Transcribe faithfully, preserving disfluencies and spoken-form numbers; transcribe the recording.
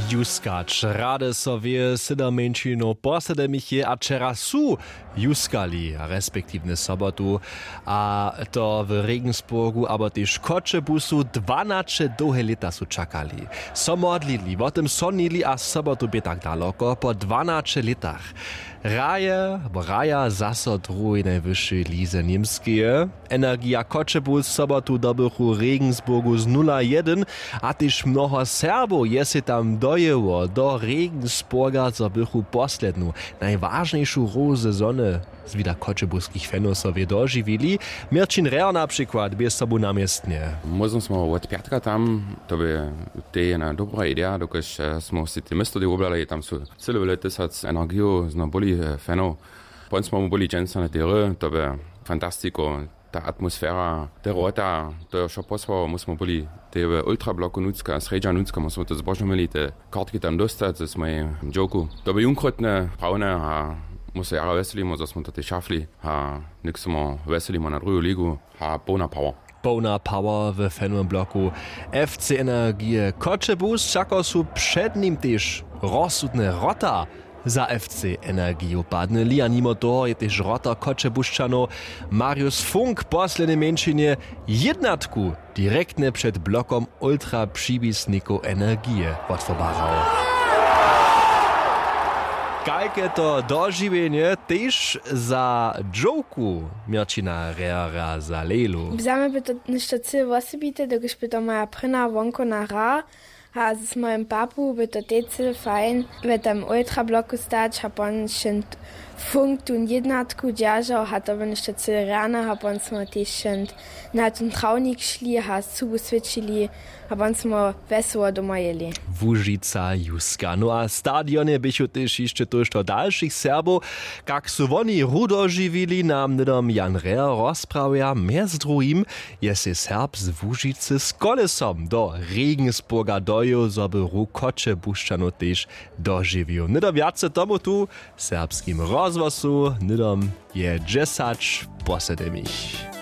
Juskać rady so wě sydomjeńšinow posledemich je a wčera su juskali respektiwnje sobotu, a to w Regensburgu abo tež Choćebuzu. Dwanaće dołhe lěta su čakali, so modlili, wo tym sonili a sobotu bě tak daloko po dwanaće lětach. Raje abo raja zaso druhej najwyšej lize němskeje. Energija Choćebuz sobotu dobychu w Regensburgu z nula jedyn, a tež mnoho Serbow je sej tam dojěło do Regensburga, zo bychu poslednu najwažnejšu hru sezony z wida choćebuskich fanow so wě dožiwili. Měrćin Reho na přikład bě sobu na městnje. Móžno smo wot pjatka tam, to bě tej jedna dobra ideja, dokelž eh, smo si te město tej woblali, tam su cyle wjele tysac energijow zno byli eh, fanow. Pon smo mu byli dźensa na tej hry, to bě fantastiko, ta atmosfera, te wrota, to je wšo posłało, my smo byli tej w ultrabloku nutřka, srjedźa nutřka, my smo to zbožomili, te kartki tam dóstać, ze swojej dźowku. To bě junkrótne, prawne, a my so jara wjeselimo, zo smo to tej šafli, a něk smo wjeselimo na druhu ligu, a połna power. Połna power w fanowym bloku F C Energije Choćebuz, wšako su před nim tež rozsudne wrota za F C Energiju padnyli, a nimo toho je tež wrotar Choćebušćanow Marius Funk poslednje mjeńšinje jědnatku direktnje před blokom ultra přiwisnikow Energije wotwobarał. Kajke to dožiwjenje tež za dźowku Měrćina Rehera za Lejlu. Za mnje by to něšto cyle wosebite, dokelž by to moja prěna wonkowna hra, a z mojim papu by to tej cyle fajn w tym ultrabloku stać a pon šent funk tón jědnatku dźeržał, a to by něšto cyle rjane, a pon smo tež šent na tón trawnik šli a subu swěćili, a pon smo wjesoło doma jěli. Łužica juska, no a w stadionje běchu tež hišće tójšto dalšich Serbow. Kak su woni hru dožiwili, nam hnydom Jan Reher rozprawja. Mjez druhim je sej Serb z Łužicy z kolesom do Regensburga dojěł, zo by hru Choćebušćanow tež dožiwił. Hnydom wjace tomu tu w Serbskim rozhłosu, hnydom je dźesać po sedemich.